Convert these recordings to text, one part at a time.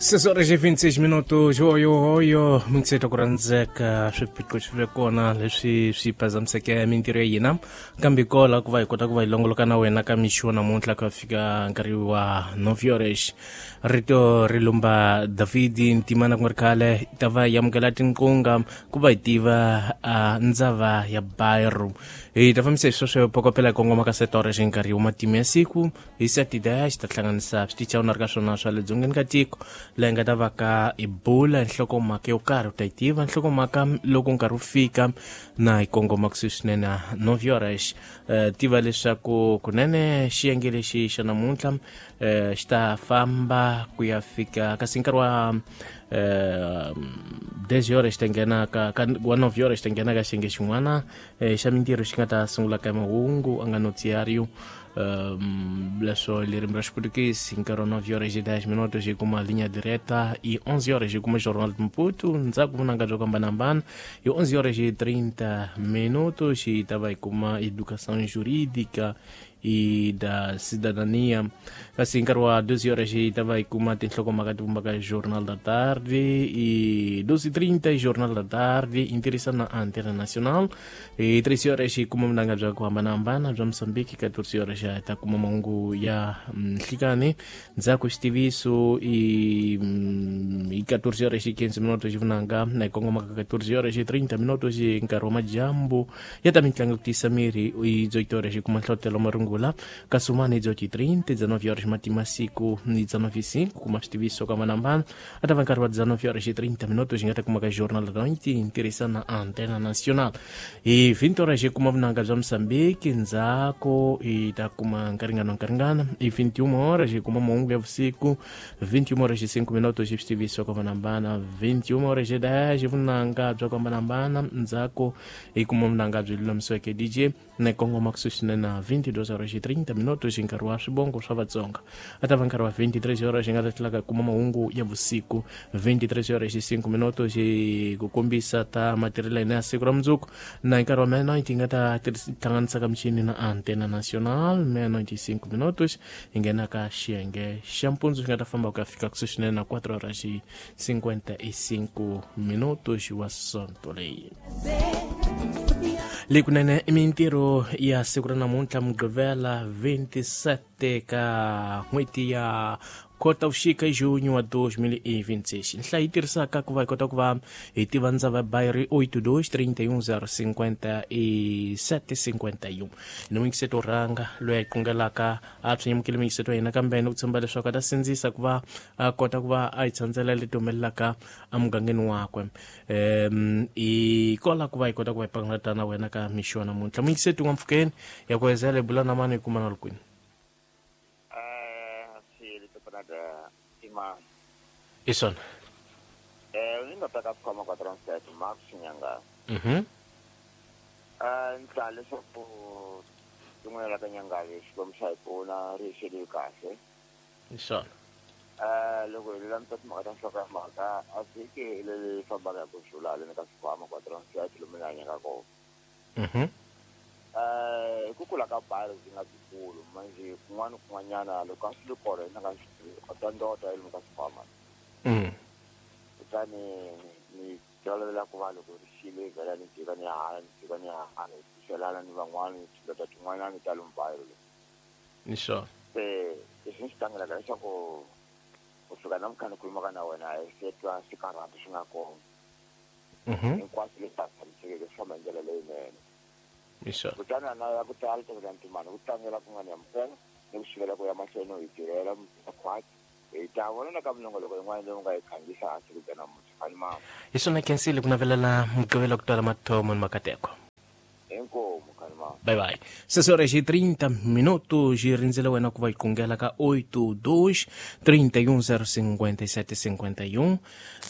6 horas e 26 minutos. Oyo oyo mintseta ku rhandzeka swiphiqo swi ve kona leswi swi phazamiseke mintirho ya hina, kambe kola ku va hi kota ku va hi longoloka na wena ka mixo namuntlha ku ya fika nkarhi wa 9 horas. Rito ri lumba Davidi Ntimana, ku nga ri khale hi ta va hi amukela tinqunga ku va hi tiva ndzava ya Bairro. Hi ta fambisa hi sweswo pokopela hi kongoma ka 7 horas nkarhi wa matimu ya siku. Hi 7:10 ta hlanganisa switichi a wu na ri ka swona swa le dzongeni ka tiko, laha hi nga ta va ka hi bula nhlokomhaka yo karhi. U ta yi tiva nhlokomhaka loko nkarhi wu fika na hi kongoma kusuhi swinene na 9 horas. Tiva leswaku kunene xiyenge lexi xa namuntlha xi ta famba ku ya fika kasi nkarhi wa 10 horas xi ta nghena ka wa 9 horas, xi ta nghena ka xiyenge xin'wana xa mintirho xi nga ta sungula ka mahungu a nga noticiário, leswo ririmi ra Xiputukisi. Nkarhi wa 9 horas e 10 minutos hi kuma linha direta, e 11 horas hi kuma Jornal de Maputo, ndzhaku vunanga byo hambanahambana. Hi 11 horas e 30 minutos hi ta va hi kuma Educação Jurídica e da Cidadania, kasi nkarhi wa 12 horas hi ta va hi kuma tinhlokomhaka ti vumbaka Jornal da Tarde, e 12:30 Jornal da Tarde intirhisana na Antena Nacional. Hi 13 horas hi kuma vunanga bya ku hambanahambana bya Mozambique. 14 horas hi ta kuma mahungu ya nhlikani, ndzhaku xitiviso. I 14 horas e 15 minutos xivunanga na hi kongoma ka 14 horas e 30 minutos hi nkarhi wa madyambu ya ta mitlangu ku tiyisa miri. I 18 horas hi kuma nhlotelo marungula, kasi un'wana hi 18:30. 19 horas matima siku ni 19:05 kuma switiviso ka hambanahambana. A ta va nkarhi wa 19 horas e 30 minutos hi nga ta kuma ka Jornal da Noite ntirhisana Antena Nacional. Hi 20 horas hi kuma vunanga bya Mozambique, ndzhaku hi ta kuma nkaringano nkaringana. Hi 21 horas hi kuma mahungu ya vusiku, 21 horas e 5 minutos hi switiviso ka hambanahambana, 21 horas e 10 vunanga bya ku hambanahambana, ndzhaku hi kuma vunanga byi lulamisiweke DJ na kongoma kusuhi swinene na 22 horas e 30 minutos hi nkarhi wa swivongo swa Vatsonga. A ta va nkarhi wa 23 horas hi nga ta tlhela ka kuma mahungu ya vusiku, 23 horas e 5 minutos hi ku kombisa ta matirhelo ya hina ya siku ra mundzuku, na hi nkarhi wa meia-noite hi nga ta hlanganisa ka michini na Antena Nacional. Meia-noite e 5 minutos hi nghena ka xiyenge xa mpundzu, xi nga ta famba ku ya fika kusuhi swinene na 4 horas e 55 minutos wa sonto leyi. Leyi kunene i mintirho ya siku ra namuntlha, Mugqivela 27 ka n'hweti ya Khotavuxika, junho wa 2026. Nhlayo yi tirhisaka ku va hi kota ku va hi tiva ndzava bayiri 82 31 057 51. Ni muyingiseto wo rhanga loyi a yi qungelaka a swi nyamukile muyingiseto wa hina, kambe ni ku tshemba leswaku a ta sindzisa ku va a kota ku va a yi tshandzela leti humelelaka emugangeni wakwe. I kola ku va hi kota ku va hi pangalata na wena ka mixo wa namuntlha. Muyingiseti wa mpfhukeni ya ku hezela hi bula na mani, hi kuma na lukwini? I swona. Ni nga ta ka khoma ka transport Max Nyanga. Ni leswaku tin'wana la ka Nyangavi Xikwembu xa hi pfuna, ri hi xeliwi kahle. I swona. Loko hi lulamisa timhaka ta nhloko ya mhaka, a vhiki leri fambaka hi ku xula haleni ka xikhwama kwa transport lomu ni hanyaka kona. Hi ku kula ka bari byi nga byikulu manje kun'wana kun'wanyana loko a swi ri kona ni nga swi ta ndota lomu ka xikhwama. Kutani ni tolovela ku va loko ri xile vhela ni jika ni ya hala, ni jika ni ya hala, hi pfuxelana ni van'wana tindota tin'wanyana ta lomu bari. Ni swona. Se leswi ni swi tlangelaka leswaku kusuka namuntlha ni khulumaka na wena hi se twa swikarhati swi nga kona. Hinkwaswo leswi a tshamisekeke swi famba hi ndlela leyinene. Ni swona. Kutani ana ya ku tala tekela ntimani ku tlangela ku nga ni amukela ni ku sivela ku ya mahlweni hi tirhela khwati, hi ta vona na ka minongoloko yin'wana leyi u nga yi khangisa hansi ku bya namuntlha fani mama. Hi swona, khensile ku navelela Mugqivela ku twala mathomo ni makateko. Inkomu khani mama. Bye bye. 6 horas e 30 minutos hi rindzele wena ku va hi qungela ka 82 31 057 51.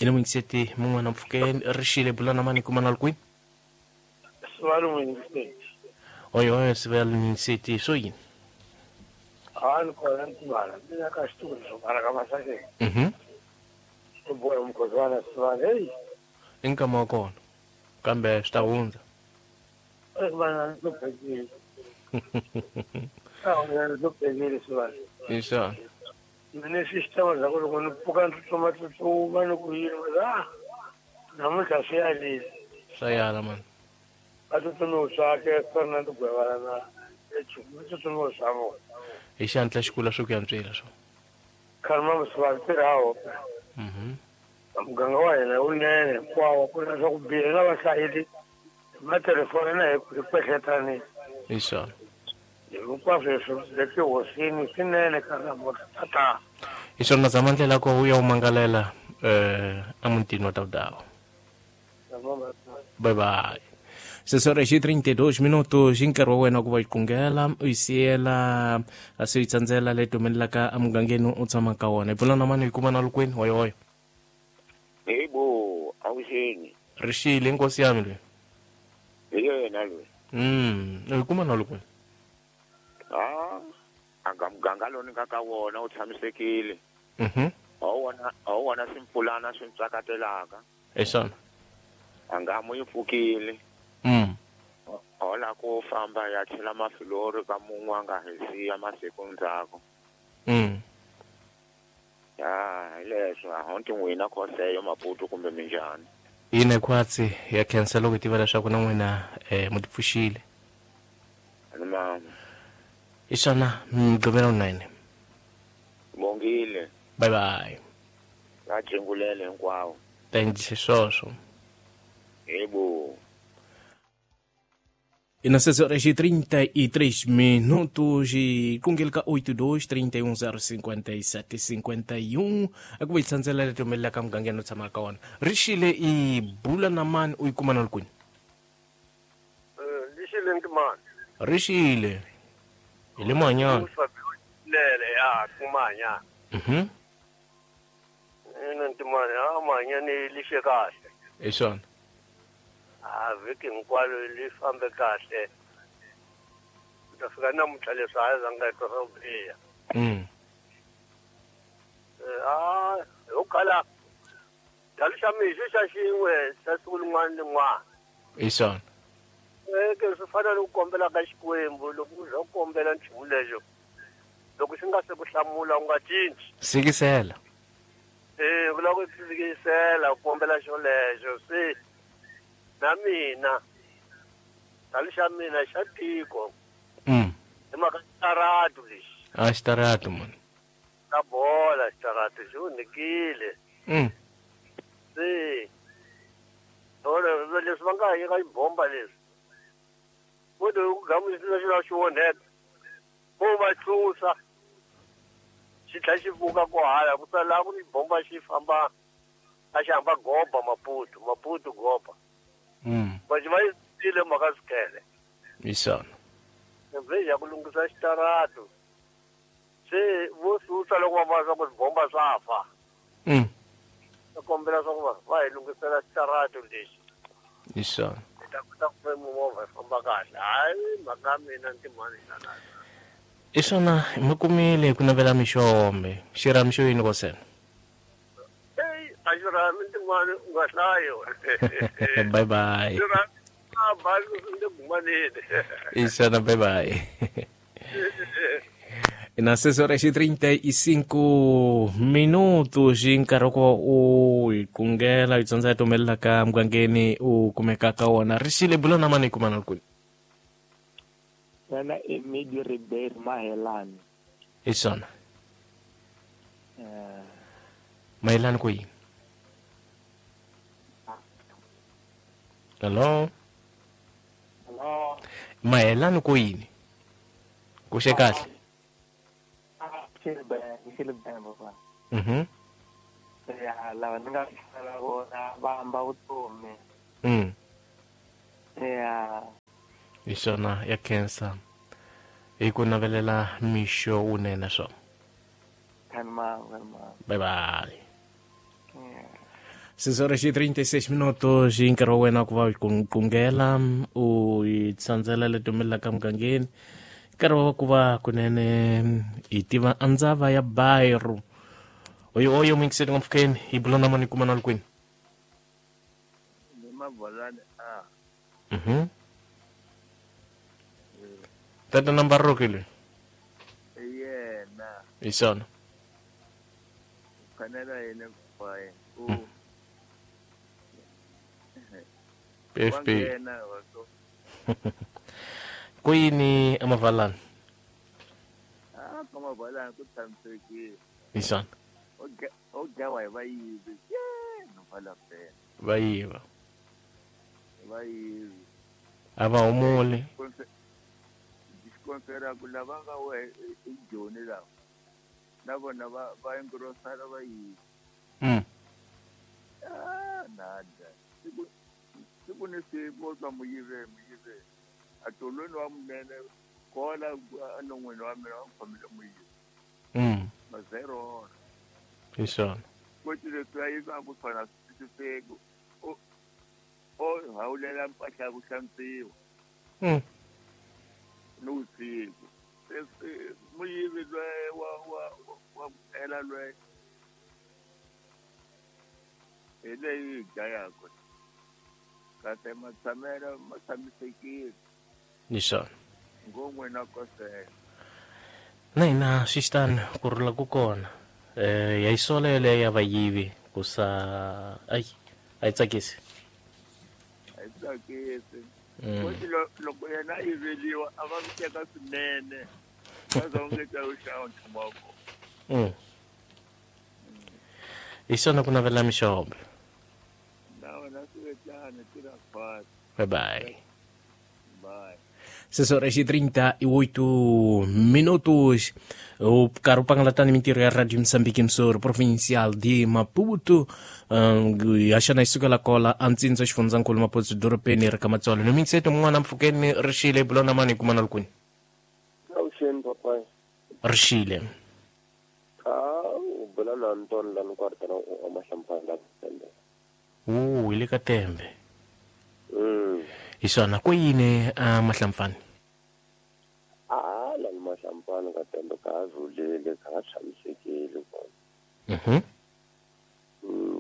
Ina muyingiseti mun'wana mpfhukeni, ri xile, bula na mani, kuma na kwini? Sivalo muyingiseti. Oyo oyo, Sivalo muyingiseti, swo yini? A ni kona ntimana mina ka xitulu swo karha ka masakeni. Swi boha mukhoziwana Sivalo, heyi. I nkama wa kona, kambe swi ta hundza. Vana ni hluphekile, a ni hluphekile Sivalo. Hi swona. Mina system za ku loko ni pfuka ni tsutsuma tsutsuma ni ku yini a namuntlha swi yalile. Swa yala mani. A tsutsumi swakhe Fernand Gwevana na Echumu tsutsumi swa vona. Hi xihatla xikulu swi ku yantswela swo. Khalma muswa tirhawo. Muganga wa hina wunene hinkwawo ku na swa ku biha na vahlayeli matelefoni na hi ku kwehletani. Hi swona. Hinkwaswo leswi le tihosini swinene ka namuntlha tata. Hi swona zama ndlela ko u ya u mangalela emutini wa Tawudawu. Bye bye. 6:32 minutos hi nkarhi wa wena ku va yi qungela u yi siyela a swi yi tsandzela leyi humelelaka emugangeni u tshamaka wona. Hi pfula na mani hi kuma na lukwini hoyohoyo. Yebo, awuxeni. Rixile inkosi yami loyi. Hi yena loyi. U yi kuma na lukwini. Anga muganga lowu ni nga ka wona wu tshamisekile. A wu wona swimpfulana swi ntsakatelaka. Hi swona. Angamu yi pfukile. Hola ku famba ya chela mafilori ka mun'we a nga hi siya masiku ndzhaku. Ya hi leswo a honti n'wina khoseyo Maputo kumbe minjhani. Yini khwatsi ya khensa loko hi tiva leswaku na n'wina mu tipfuxile. Mama. Hi swona Mugqivela wunene. Bongile. Bye bye. Va jingulele hinkwawo. Thanks swoswo. Yebo. E nas 6:33 minutos e kungelka 82 31 057 51 akuba itsandzela leti humelelaka mugangeni u tshamaka wona. Rixile i bula na mani u yi kuma na kwini? Rixile ntimani. Rixile. Hi le Mahanyana. Lele ya kumanya. Ina ntimani a Mahanyana lixe kahle. Hi swona. A vhiki hinkwalo li fambe kahle. Ku ta fika namuntlha leswi a zanga twa swa ku biha. Ho khala dalo xa mixo xa xin'we xa siku rin'wana ni rin'wana. Hi swona. Ke swi fana ni ku kombela ka Xikwembu loko u za u kombela nchumu lexo loko xi nga se ku hlamula u nga cinci. Sikisela. Ku lava ku sikisela u kombela xolexo se na mina dalo xa mina xa tiko. Hi mhaka xitaratu lexi. A xitaratu mani. Xa bola xitaratu xi onhekile. Se leswi va nga yeka xibomba leswi vo to ku gamu xi la xi onheka vo va tlusa xi tlhela xi pfuka ko hala ku sala ku ni bomba xi famba a xi hamba goba Maputo Maputo goba. Va xi va yisile mhaka swikele. Hi swona. Mve ya ku lunghisa xitaratu se vo susa loko va vona swa ku bomba swa fa. Va kombela swa ku va hi lunghisela xitaratu lexi. Hi swona. Hi ta kota ku movha yi famba kahle. Hayi mhaka mina ntimani xana. Hi swona mi kumile ku navela mixombe. Xirhami xo yini kosena? Ey, a xirhami ntimani u nga hlayi. Bye bye. Xirhami a bali le gumaneni. Hi swona bye bye. E nas 6:35 minutos hi nkarhi ku u hi qungela hi tsandza hi humelelaka mugangeni u kumeka ka wona. Rixile bula na mani hi kuma na kwini? Wena i Midi Ribeiro Mahelani. Hi swona. Mahelani ku yini? Hello? Hello? Mahelani ku yini? Ku xe kahle? Ya lava ni nga hlala vona va hamba vutomi. Ya. Hi swona ya khensa hi ku navelela mixo wunene swona. Bye bye. 6:36 minutos hi nkarhi wa wena ku va ku qungela u yi tsandzela leti humelelaka mugangeni. Nkarhi wa ku va kunene hi tiva andzava ya Bairro. Oyo oyo muyingiseli n'wampfhukeni hi bula na mani kuma na kwini? Ni Mabolani a. Tata number ro ke le. Yena. Hi swona. Khanela yena papai u PFP kuyini amavalani kamavalani ku tshamisekile isana o dlawa hi vayivi no vala phela vayiva vayivi a va humuli xikonsera ku lava nga we i joni lava na vona va engrosara vayivi nada siku ni siku o twa muyive a tolweni wa munene kola enon'wini wa mina wa khomile muyivi mazero hi swona koti leswi a yivaku swona swi twisiseki o hawulela mpahla ya ku hlantswiwa ni vusiku muyivi loyi wa ku ela loyi hi leyi hi dlayaka kasi matshamelo ma tshamisekile ni swona ngon'we na kosela na hina swi xitani ku rhula ku kona ya yi sola yeleyo ya vayivi ku sa ayi a yi tsakisi a yi tsakisi koti loko yena a yiveliwa a va teka swinene va za u nge ta u xava nchumu wa kona hi swona ku navela mixombe na wena swi vetana tirha fast bye bye bye 6 horas e 38 minutos. O caro pangalatani mintirho ya Radio Moçambique Msoro Provincial de Maputo. Yaxana isukela kola antsindza xifundzankulu Maputo dorobeni ri ka Matsolo. No minseto mun'wana mpfhukeni rixile bulona mani kumana lukuni. Awuxeni papai. Rixile. U bula na Anton la ni kwartana u amahlampana la Tembe. Hi le ka Tembe. Hi swona ku yini mahlampfani? La ni mahlampfani ka Tembe ka ha rhulile ka ha tshamisekile kona.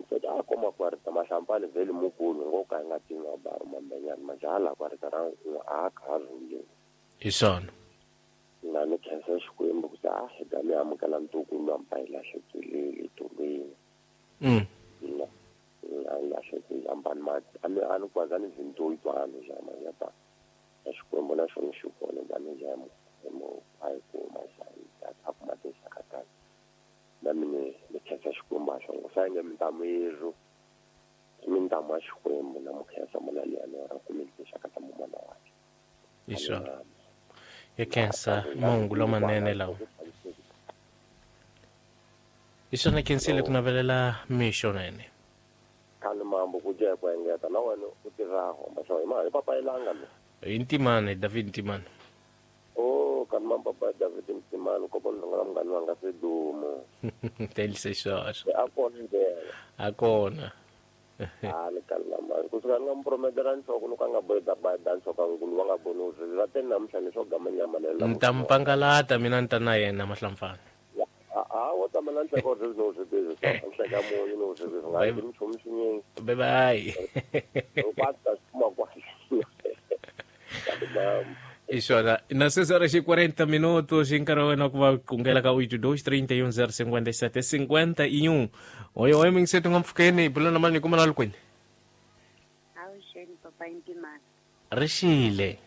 Se a koma kwarita mahlampfani vhele mukulu ngo ka hi nga tivi nga bari mambenyani majaha kwarita ra un'we a ka ha rhulile. Hi swona. Na ni khensa Xikwembu ku a hi ta mi amukela ntukulu wa mpa hi lahlekile tolweni. Na lahlekile ambani ma a ni kwaza ni zinto itwana jama ya ta Xikwembu na xona xi kona ba ni jama mo a yi kuma xa ta kuma tinxaka ta na mine ni khensa Xikwembu a xona sa nge mintamu yerhu mintamu ya Xikwembu na mu khensa mona liyani ra kumile tinxaka ta mumana wakhe. Hi swona. Ya khensa mahungu lamanene lawa. Hi swona khensile ku navelela mixo nene. Khale mambo ku dya ku engeta na wena u tirhaho masho hi mali papa ilanga mi. Hi Ntimane David Ntimane. Oh kan mambo papa David Ntimane ko bona ngala mngani wanga sedumo. Telise sweswo. A kona ndlela. A kona. A ni kala mali ku suka nga mprometela nhloko loko a nga boheta ba nhloko nkulu wa nga voni u swi va te namuntlha leswo gama nyama leyo. Ni ta mpangalata mina ni ta na yena mahlampfana. A wo tama na nhloko swi no swi busy nhleka munyu no swi busy nga ri nchumu xinyingi. Bye bye. Kwata kuma kwa. Isona na 6 horas e 40 minutos nkarhi wa wena ku va kungela ka 82 31 057 51. Oi oi minseto nga mpfhukeni bula na mani kuma na lukwini. Awuxeni papa Ntimane. Rixile.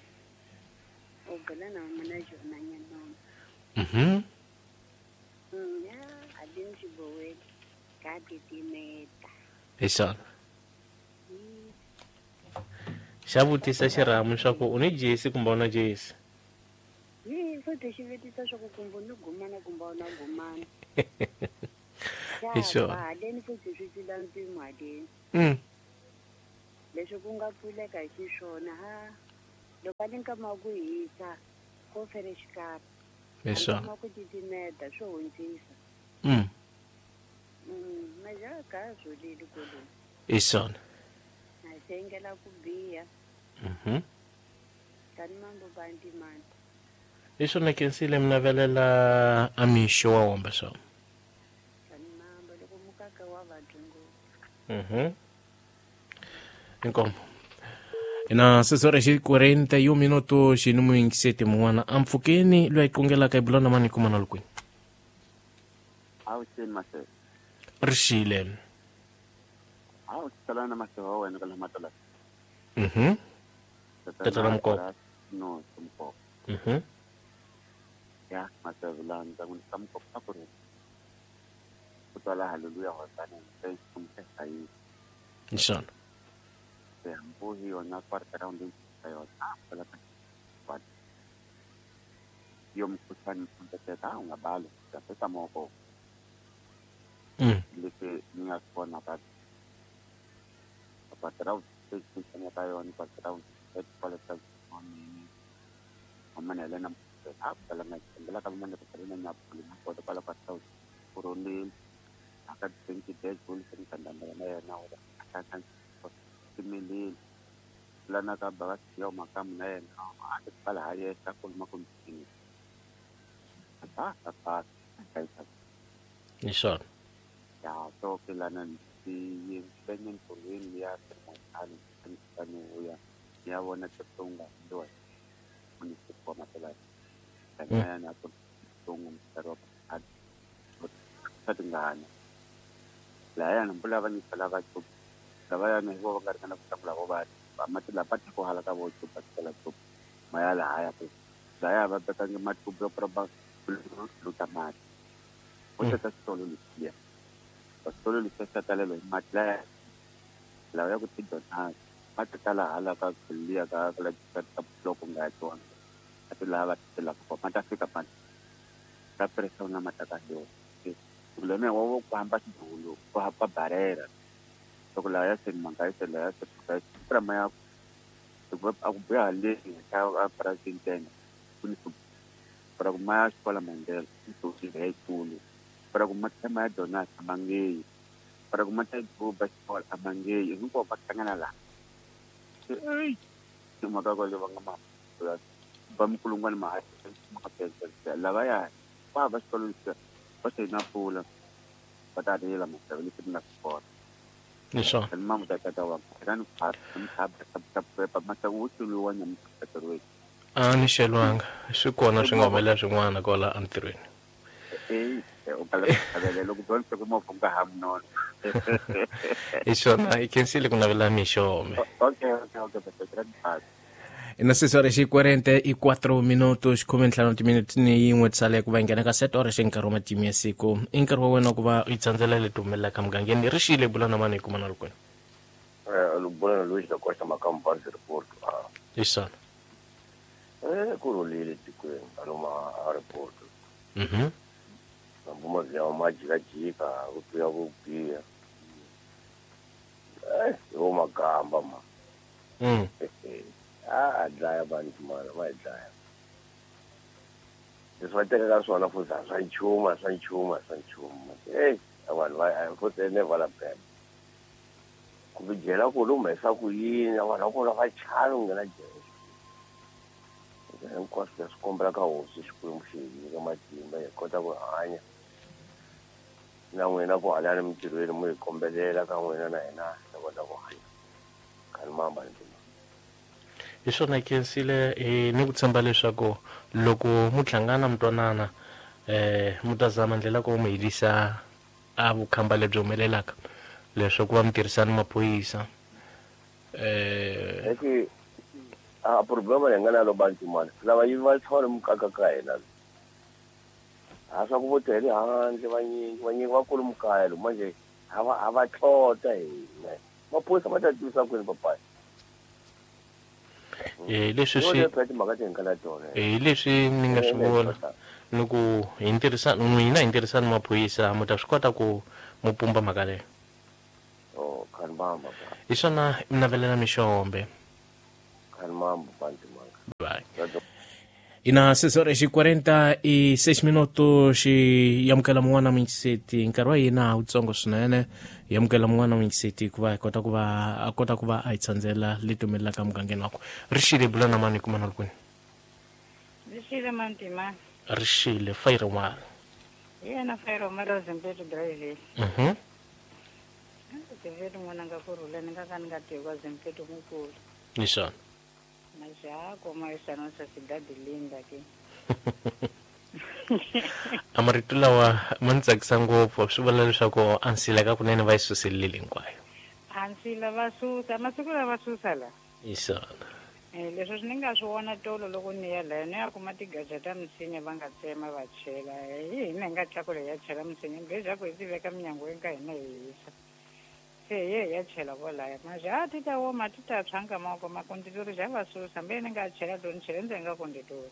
U bula na mina Jona Nyanoma. Ya alini xiboweni ka titimeta. Hi swona. Xa vutisa xirhamu swa ku u ni jesi kumbe u na jesi? Yi futhi xi vutisa swa ku kumbe u ni gumana kumbe u na gumana. Hi swona. Haleni futhi swi tlula mpimo haleni. Leswi ku nga pfuleka hi xiswona ha loko a ni nkama wa ku hisa ko fere xikarhi. Hi swona. Nkama wa ku titimeta swo hundzisa. Majaha ka ha rhulile koloni. Hi swona. Na sengela ku biha. Tani mambo ba Ntimane. Hi swona khensile mi navelela a mixo wa womba swona. Tani mambo loko mukaka wa vabyi ngopfu. Inkomo. Na 6 horas e 41 minutos no mingisete mun'wana a mpfhukeni loyi a yi kungelaka hi bula na mani kuma na lukwini. Awuxeni Masele. Rixile. A u tsala na maseva wa wena ka lama tala. Tatana Mukoko. No, Mukoko. Ya, maseva la ndza n'wi ka Mukoko a ku ri. Ku twala haleluya hosana thanks kumteka yi. Inshallah. Ya, mbuhi yona quarter round ka yona. Pela ka. Yo mkhuhlane mkhuhlane ungabali ngapesa moko. Leti ni nga swi vona ka quarter round station ka yona quarter round kwale ka mini amana lena a pela na pela ka mani ka pela na pula na kota kwala quarter round kuroni aka 20 days bul sen kandanda na yena ora aka kan timili lana ka ba yo makam na yena a pala haye ta kulma kun ta ta ta Inshallah. Ya so ke lana ti benyen kulin ya termani tani ya ya wona tsunga ndo ni kwa matela kana na ko tunga mtaro at satingana la ya na mbula va ni sala va chu la va ya ni ho va kana ku la ba ba matela pa ko hala ka bo chu pa la chu maya la haya ku la ya va ta ngi matu bro ba lutamati o ta solo liya solo liya talelo matla la ya ku tidona matala hala ka liya ka la ka bloko nga tona atla va tela ko mata fika pa ta pressão na mata ka yo problema wo ku hamba xidulu ku hamba barera loko la ya se manga se la ya se pra maya a ku buya le ka a president ku ni para ku maya xikola Mandela ku ti hekulu para ku mata maya dona amange para ku mata ku ba xikola amange hinkwavo va hlangana la ei timhaka ko le va nga ma ba mkulungwana ma ma lava ya va va xikolo lexi va se na pfula va ta rila maseve leswi nga swi kota. Nisho. Mama ta ta wa kan pa pa ma ta wutsuluwa nyamkaterwe. A ni xelwanga swi kona swi nga humelela swin'wana kwala entirhweni. U kala loko don se ku movha nga ha mnono. Isona i khensile ku navela mixo. Okay. Na 6:44 minutos 15 minutos ni yin'we tsale ku va nghena ka 7 horas nkarhi wa matimu ya siku i nkarhi wa wena ku va i tsandzela leti humelelaka mugangeni rixile bula na mani hi kuma na lukweni. Bula na Luis da Costa Macampa report. Isona. Ku rhulile tikweni aloma a report. Mabuma ya majikajika ku tuya ku biha. Yo magamba ma. A dlaya vanhu mana va hi dlaya. Leswi va tekaka swona futhi a swa nchumu swa nchumu swa nchumu. Vanhu va futhi never la bad. Ku byela ku lu humesa ku yini vanhu va kona va chavi ku nghena jele. Hinkwaswo leswi kombela ka hosi Xikwembu xi hi nyika matimba hi kota ku hanya na n'wina ku halani mintirhweni mu hi kombelela ka n'wina na hina hi kota ku hanya. Khani mamba ni hi swona khensile ni ku tshemba leswaku loko mu hlangana mi twanana mu ta zama ndlela ku mu herisa a vukhamba lebyi humelelaka leswaku va mi tirhisana maphorisa. A problema leyi nga na lo bantu mani lava yi va tshona mukaka ka hina a swa ku vo tele handle vanyingi va kulu mukaya lo manje a va tlota hina maphorisa va ta tivisa kwini papayi. Leswi swi leswi ni nga swi vona loko hi ntirhisana n'wina hi ntirhisana maphorisa mu ta swi kota ku mu pumba mhaka leyo. Hi swona mi navelela mixombe. Bye. Ina 6:46 minutos yamukela mun'wana mingiseti nkarhi wa hina wutsongo swinene yamukela mun'wana mingiseti ku va hi kota ku va a kota ku va a hi tsandzela leti humelelaka mugangeni wakwe. Rixile bula na mani kuma na lukweni. Rixile mantima. Rixile fayiromala. Yena fayiromala Zimpeto drive. Zimpeto n'wana nga kurhula ni nga ka ni nga tivi ka Zimpeto mukulu. Nisona. Mas já como essa nossa cidade linda aqui. A marito lawa ma ni tsakisa ngopfu, swi vula leswaku a nsila ka kunene va yi suselile hinkwayo. A nsila va susa masiku lava susa la. Hi swona. Leswi swi ni nga swi vona tolo loko ni ya laya ni ya kuma tigaja ta misinya va nga tsema va chela hi hina hi nga tlakula hi ya chela misinya mbeja ku hi ti veka minyangweni ka hina hi hisa se hi ye hi ya chela kolaya manje a ti ta oma ti ta tshwa nkama wa kona makonditori xa va susa mbe ni nga chela to ni chele ndzeni ka konditori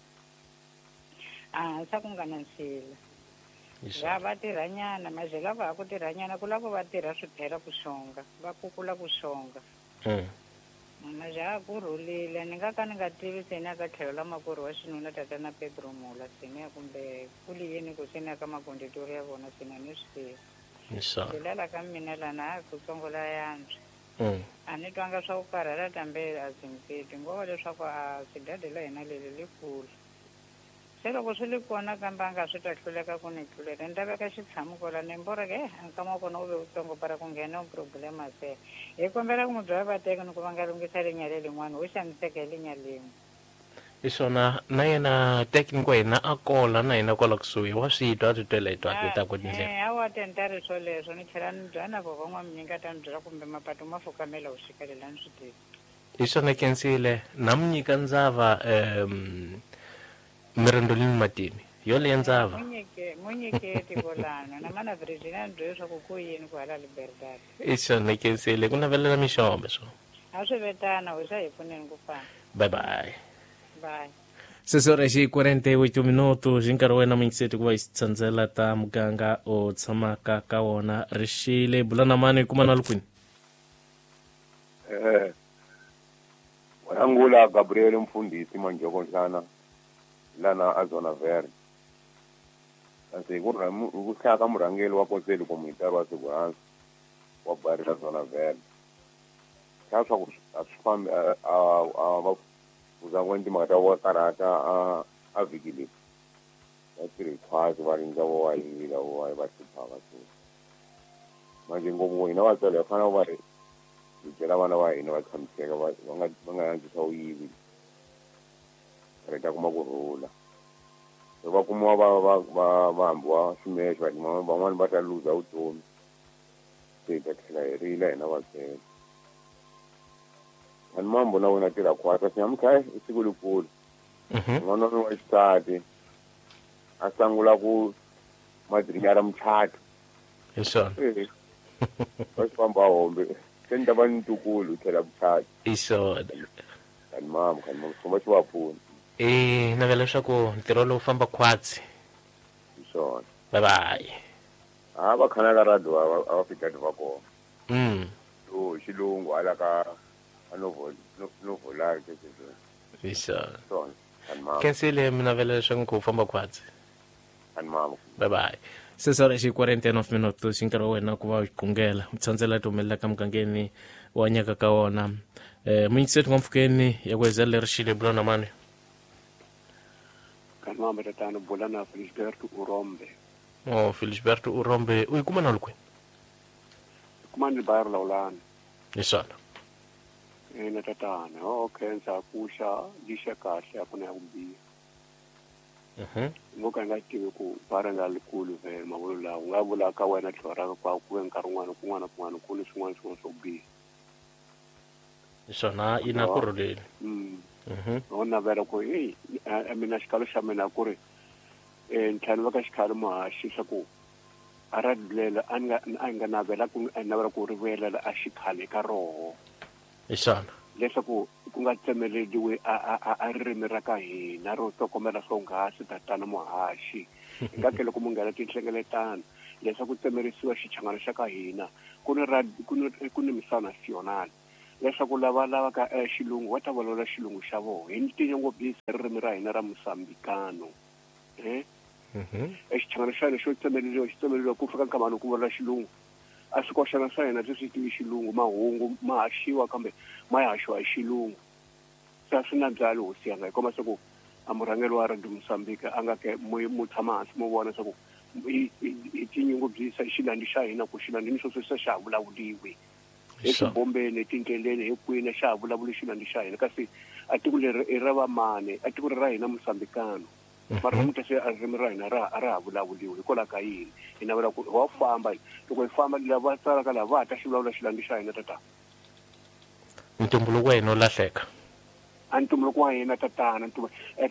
a hansi a ku nga na nsila va va tirhanyana manje lava ha ku tirhanyana ku lava va tirha swiphela ku xonga va kukula ku xonga. Manje a ku rhulile ni nga ka ni nga tivi se ni ya ka tlhelo la makwerhu wa xinuna tatana Pedro Mula se ni ya kumbe ku li yini ku se ni ya ka makonditori ya vona se ni a ni swi tivi. Ndlela la ka mina lana a ku tsongo la yantswa. A ni twanga swa ku karhala tambe a zimpiti ngova leswaku a swidade la hina leli li kula. Se loko swi li kona kambe a nga swi ta hluleka ku ni tluleta ni ta veka xitshamu kwala ni mboreka eh nkama wa kona wu ve wutsongo para ku nghena problema se hi kombela ku mu byela va teka ni ku va nga lunghisa linya lelin'wana ho xaniseka hi linya lin'we. Hi swona na yena tekniko wa hina a kola na hina kwala kusuhi wa swi twa a ti twela hi twa ta ku tindlela. Hawa tenta ri swoleswo ni tlhela ni byela na vo van'waminyingi a ta ni byela kumbe mapatu ma fukamela u xikelela ni swi tivi. Hi swona khensile na mu nyika ndzava Mirondolini Matini yoleyo ndzava. Mu nyike tikolano na mana Virginia ni byele leswaku ku yini ku hala Liberdade. Hi swona khensile ku navelela mixombe swo. A swi vetana hoxa hi pfuneni ku fana. Bye bye. Bye. Sesora xi 48 minuto xi nkarhi wa wena muyingiseti ku va hi tsandzela ta muganga u tshamaka ka wona rixile bula na mani kuma na lukwini. Wayangula Gabriel Mfundhisi Manjoko Nhlana lana a Zona Verde. Kasi hi ku hi ku hlaya ka murhangeri wa Conselho Comunitário wa Segurança wa bairro la Zona Verde. Hlaya swa ku a swi fambi a a va kuza ku timhaka ta va karhata a a vhiki leyi. Va tirhi khwatsi va rindza vo wa yila vo wa va hluphaka so. Manje ngopfu hina vatswari hi fanele va hi byela vana va hina va tshamiseka va va nga va nga antswisa vuyivi. Ri ta kuma ku rhula. Loko va kumiwa va va va va hambiwa swimexe va van'wani va ta luza vutomi. Se hi ta tlhela hi rila hina vatswari. Ani mambo na wena tirha khwatsi kasi namuntlha i siku likulu. N'wana wa mina wa xisati a sangula ku madrinyara muchato. Hi swona. Va swi famba hombe se ni ta va ni ntukulu tlhela muchato. Hi swona. Kani mama kani mama xikomba xi va pfuna. I navela leswaku ntirho lowu famba khwatsi. Hi swona. Bye bye. A va khana ka radio a va fika va kona. To xilungu hala ka a novolari ke sweswo. Hi swona. Swona. Kani mama. Khensile mi navela leswaku nkhuvo famba khwatsi. Kani mama. Bye bye. Sesora xi 49 minutos xi nkarhi wa wena ku va u qungela u tsandzela ti humelela ka mugangeni wa nyaka ka wona. Muyingiseri wa mpfhukeni ya ku hezela leri xile bula na mani. Kani mama tatana bula na Felisberto Urombe. Oh Felisberto Urombe u yi kuma na kwini? Kuma ni bayar lawulani. Hi swona. Ina tatana ho khensa ku xa lixa kahle a ku na ya ku biha. Ngo ka nga tivi ku bara nga likulu vhele mavulu lawa u nga vula ka wena tlhelo ra kwa ku ve nkarhi wun'wana kun'wana kun'wana ku ni swin'wana swin'wana swo biha. Hi swona yi na ku rhuleni. Ho navela ku hey mina xikalo xa mina ku ri ni tlhela ni veka xikhalo muhaxi swa ku a ra dlela a nga a nga navela ku navela ku ri vuyelela a xikhale ka roho. Hi swona. Leswaku ku nga tsemeleliwi a ririmi ra ka hina ro tokomela swonghasi tatana muhaxi. Hi nga ke loko mu nghena tinhlengeletano leswaku tsemerisiwa xichangana xa ka hina ku ni ku ni misava national leswaku lava lavaka xilungu va ta vulavula xilungu xa vona hi tinyungubyisa ririmi ra hina ra Mosambikano. Exichangana xa hina xo tsemeleriwa xi tsemeleriwa ku fika nkama loko ku vulavula xilungu. A swi koxana swa hina swi swi tivi xilungu mahungu ma haxiwa kambe ma ya haxiwa hi xilungu. Se a swi na byali hosi yanga hi komba swa ku a murhangeri wa Radio Mozambique a nga ke mu tshama hansi mu vona swa ku hi tinyungubyisa xilandi xa hina ku xilandi ni sweswo se xa ha vulavuliwi. Eswibombeni etindleleni hi kwini xa ha vulavuli xilandi xa hina kasi a tiko leri i ra vamani a tiko ri ra hina Mozambikano. Mara namuntlha se a ririmi ra hina ra a ra ha vulavuriwi hikwalaho ka yini? Hi navela ku wa famba loko hi famba lava tsalaka laha va ha ta xi vulavula xilangi xa hina tatana. Ntumbuluko wa hina wu lahleka. A ntumbuluko wa hina tatana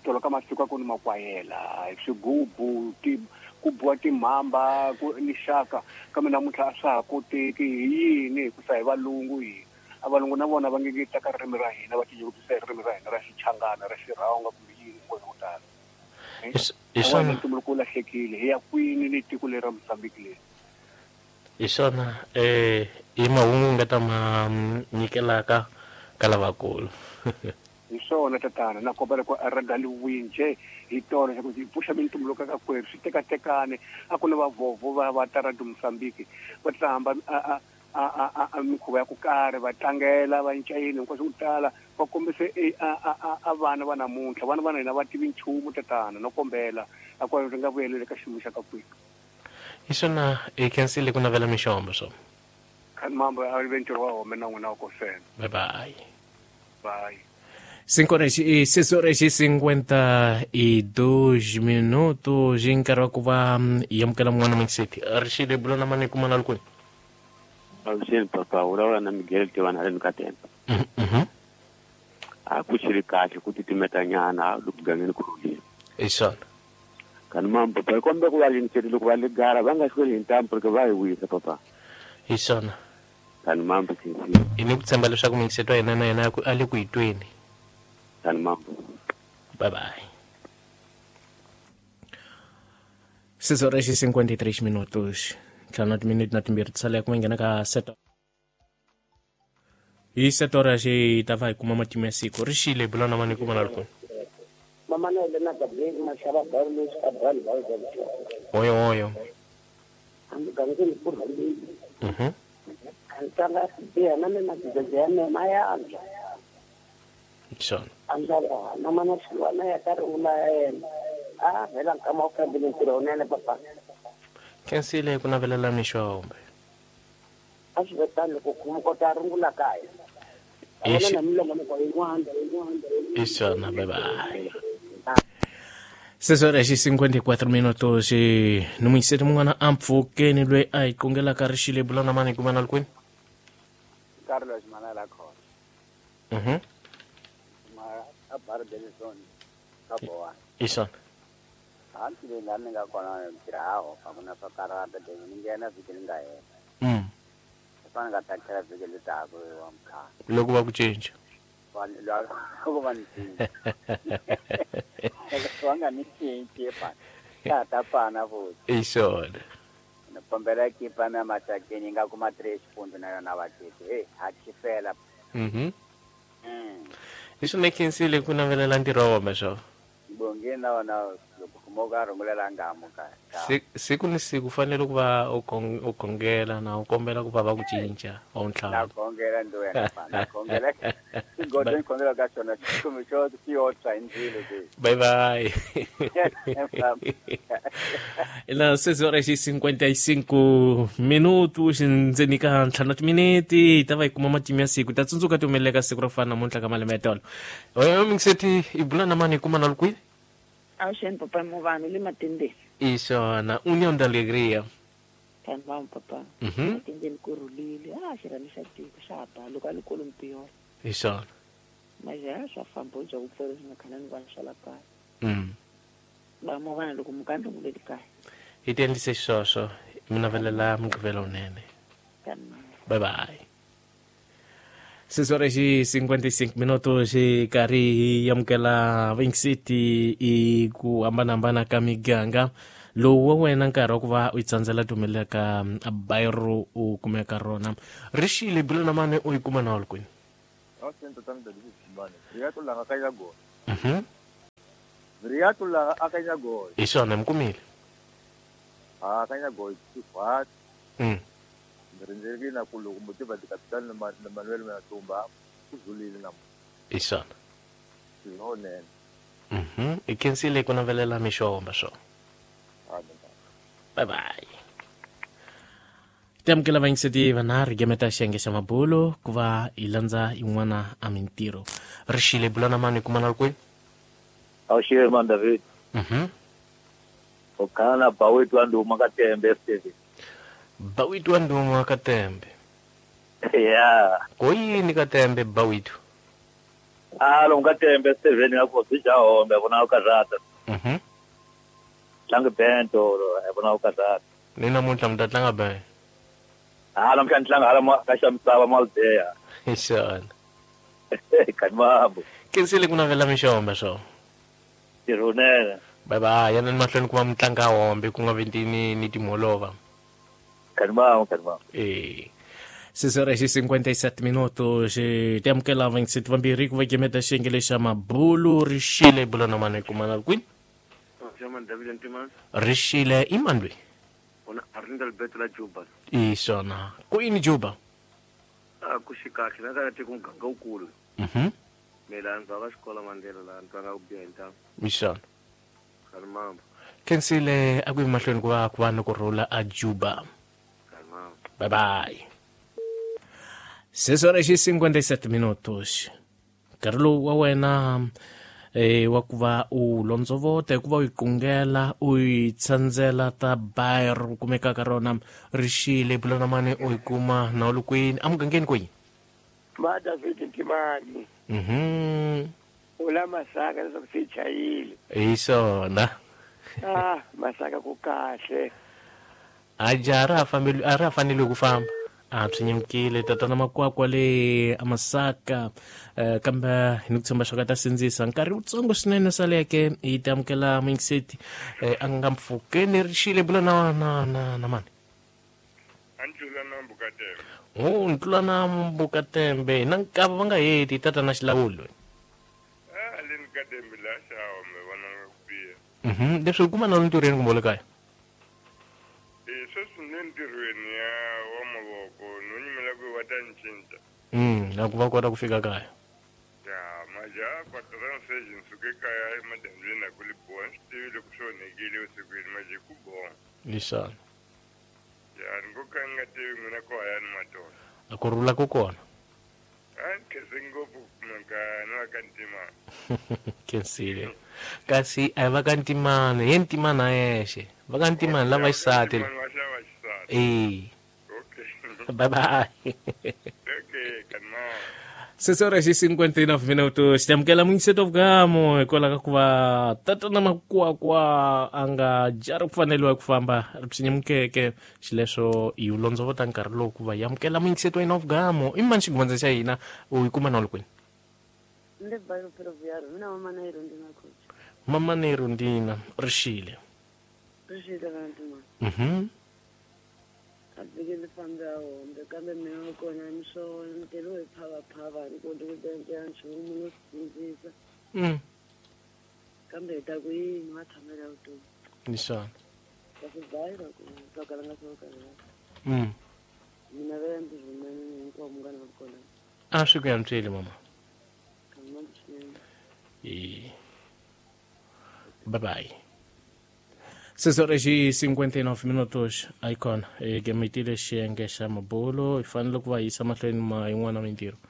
tolo ka masiku a ku ni makwayela swigubu ti ku biwa timhamba ku ni xaka kambe namuntlha a swa ha koteki hi yini hikusa hi valungu hina. A valungu na vona va nge nge teka ririmi ra hina va tinyungubyisa hi ririmi ra hina ra Xichangana ra Xirhonga kumbe yini hi ku tala. Hi swona ntumbuluko wu lahlekile hi ya kwini ni tiko leri ra Mozambique leri. Hi swona i mahungu nga ta ma nyikelaka ka lavakulu. Hi swona tatana na kombela ku a ragaliwini nje hi tolo xa ku hi pfuxa mintumbuluko ka kwerhu swi tekatekane a ku na vavhovho va va ta ra Mozambique va ta hamba a mikhuva ya ku karhi va tlangela va ncayini hinkwaswo ku tala va kombise a vana va namuntlha vana va hina va tivi nchumu tatana no kombela a ku ri nga vuyeleli ka xiyimo xa ka kwihi. Hi swona hi khensile ku navela mixombo swo. Khani mambo a ve ntirho wa home na n'wina wa kosena. Bye bye. Bye. 6 horas e 52 minutos hi nkarhi wa ku va hi amukela mun'wana Mixeti. Rixile bulo na mani kuma na lukweni. Avuxeni papa, vulavula na Miguel Tivana haleni ka Temba. A ku xili kahle ku titimeta nyana loko gangeni ku rhulile. Hi swona. Kani mambo papa, kombe ku va lingiseli loko va ligara va nga hlweli hi ntambu ri va hi wisa papa. Hi swona. Kani mambo khinsile. Hi ni ku tshemba leswaku Mixeti wa hina na yena a le ku hi tweni. Kani mambo. Bye bye. 6 horas e 53 minutos. Ntlhanu na timinete na timbirhi ti sale ku nghena ka set. Hi 7 horas hi ta va hi kuma matimu ya siku. Rixile bula na mani kuma na lukuni. Mama na Elena Gabriel Mashaba Barlos Abral Valverde. Oyo oyo. Amugangeni ku rhulile. Antanga siya na mina ya me maya anza. Swona. Anza na mana xilwana ya ka rula yena. A vela nkama u fambile ntirho wunene papa. Khensile ku navelela mixombe. A swi vetani loko ku kota rungula kaya. Hi swona, bye bye. 6 horas e 54 minutos ni muyiseti mun'wana a mpfhukeni loyi a hi qongelaka rixile bula na mani kuma na lukwini. Carlos Manala Khona. Ma a bar Benson ka boa. Hi swona. Hansi leyi laha ni nga kona ntirho a ku na swo karhata ni nghena vhiki ni nga hela. Swi nga ta tlhela vhiki leri taka wa mkhaya. Loko va ku cinca. Loko va ni cinca. Va nga ni cinci pa. Ta ta pana futhi. Hi swona. Ni kombela kipa na masakeni yi nga kuma 3 xipundzu na yona va titi. Hey, ha chifela. Hi swona khensile ku navelela ntirho wa wena swo. Bongeni na wona loko kumoka rungulela ngamu ka. Siku ni siku fanele ku va u khongela na u kombela ku va va ku cinca wa ntlhanu. Na khongela ndo wena pa. Na khongela. Godo ni khongela ka xona xikumu xo xi yo tshwa hi ndzilo ke. Bye bye. Ila 6 horas e 55 minutos ndzeni ka ntlhanu timinete hi ta va hi kuma matimu ya siku ta tsundzuka ti humeleleka siku ro fana namuntlha ka malembe ya tolo. Oyo Mixeti i bula na mani kuma na lukwini. Avuxeni papa Muvani le Matendeni. Hi swona, União da Alegria. Vanhu va papa. Matendeni ku rhulile. A xirhami xa tiko xa ha ba loko a li kolo mpiyo. Hi swona. Maja swa famba u bya ku pfela swi nga khana ni vanhu swa la kaya. Ba Muvani loko mukandla mu le kaya. Hi ti endlise xisweswo mi navelela mugqivela wunene. Bye bye. 6 horas e 55 minutos hi karhi hi amukela Vinksiti i ku hambanahambana ka miganga lowu wa wena nkarhi wa ku va u yi tsandzela ti humelela ka bayro u kumeka rona rixile bula na mani u yi kuma na kwini. Hi swona mi kumile. Rindzekile ku loko mutiva ti-capital na Manuel Matumba ku zulile namuntlha. Hi swona. Swinene. I khensile ku navelela mixomba swo. Bye bye. Ti amukela vayingiseti vanharhu gemeta xiyenge xa mabulo ku va hi landza yin'wana a mintirho. Rixile bula na mani kuma na kwini. Awuxile man David. Okana bawetu anduma katembe Steven. Bawetu anduma katembe. Yeah. Koyini katembe bawetu? Alo ngatembe Steven yakho sijahombe bona ukazata. Tlanga bento bona ukazata. Nina namuntlha mi ta tlanga ben. Alo mhla tlanga hala ka xa misava maldeya. Xana. Kanimambo. Kensile ku navela mixombe swo. Tirhunene. Bye bye, yana ni mahlweni ku va mitlanga hombe ku nga vi ni timholova. Kanimambo, kanimambo. Eh. 6:57 minutos te amukela 27 vambirhi ku va gemeta xiyenge xa mabulu rixile bula na mani kumana kwini rixile i mani loyi i swona ku yini Juba ku xikahle na ka tiko muganga wukulu mina ndzi va xikola Mandela laha ndzi nga ku biha hi ntamu i swona kanimambo khensile a ku yi mahlweni ku va ni ku rhula a Juba bye bye. 6:57 minutos. Nkarhi lowu wa wena wa ku va u londzovota hikuva u yi qungela u yi tsandzela ta bayr u kumekaka rona rixile bula na mani u yi kuma na u li kwini emugangeni kwihi ma David Ntimani ula Masaka leswaku se chayile hi swona Masaka ku kahle a jaha ra a ra fanele ku famba a swi nyimukile tatana Makwakwa le amasaka kambe ni ku tshemba swa ka ta sindzisa nkarhi wutsongo swinene saleke yi ta amukela muyingiseti a nga mpfhukeni rixile bula na na na na mani Antlula na Mbukatembe Ntlula na Mbukatembe na nkava va nga heti tatana Xilawulo le ni Katembe la xawa me vona nga ku biha leswi kuma na ntirhweni kumbe le kaya sweswi ni le ntirhweni ya wa mavoko no nyimela ku va ta ni cinca na ku va kota ku fika kaya ya majaha kwatransage ni suke kaya emadyambyini a ku li boha ni swi tivi loko swi onhekile vusikwini maje ku boha lexana ya ni ngo ka ni nga tivi n'wina ko hayani matolo a ku rhula ku kona a ni khense ngopfu ku kumeka ni va ka Ntimani khensile kasi a hi va ka Ntimani ye Ntimani a yexe va ka Ntimani lava xisati okay bye bye okay kanimambo 6:59 minutos tamukela muyingiseti wa vugamo hikwalaho ka ku va tatana Makwakwa a nga jari ku faneliwa ku famba ri psinyamukeke xileswo hi wu londzovota nkarhi lowu ku va hi amukela muyingiseti wa hina wa vugamo i mani xigumandza xa hina u yi kuma na u li kwini mama Nero Ndina rixile a vhiki ni fambe a hombe kambe mina wa kona ni swona ni teriwe hi phavaphava ni koti ku tiendlela nchumu no swi sindzisa kambe hi ta ku yini wa tshamela vutomi ni swona ka swi bayira ku swa kala nga swo kala mina vela ndzi rhumene hinkwavo munghana wa kona a swi ku yantsweli mama kamnandi swinene bye bye 6:59 minutos icon gemitile xiyenge xa mabulo hi fanele ku va yisa mahlweni ma yin'wana mintirho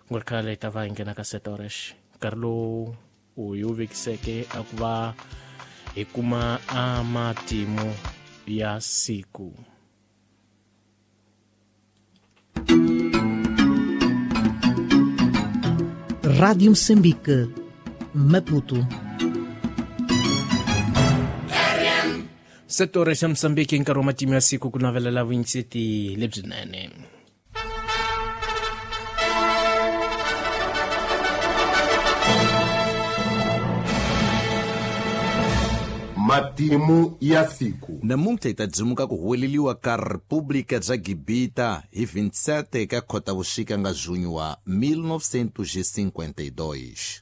ku nga ri khale hi ta va hi nghena ka setorex nkarhi lowu u yi wu vekiseke a ku va hi kuma a matimu ya siku. Rádio Moçambique, Maputo. Setora xa Moçambique nkarhi wa matimu ya siku ku navelela vuyingiseti lebyinene. Matimu ya siku. Namuntlha hi ta dzimuka ku huweleliwa ka República bya Gibita hi 27 ka Khotavuxika nga junho wa 1952.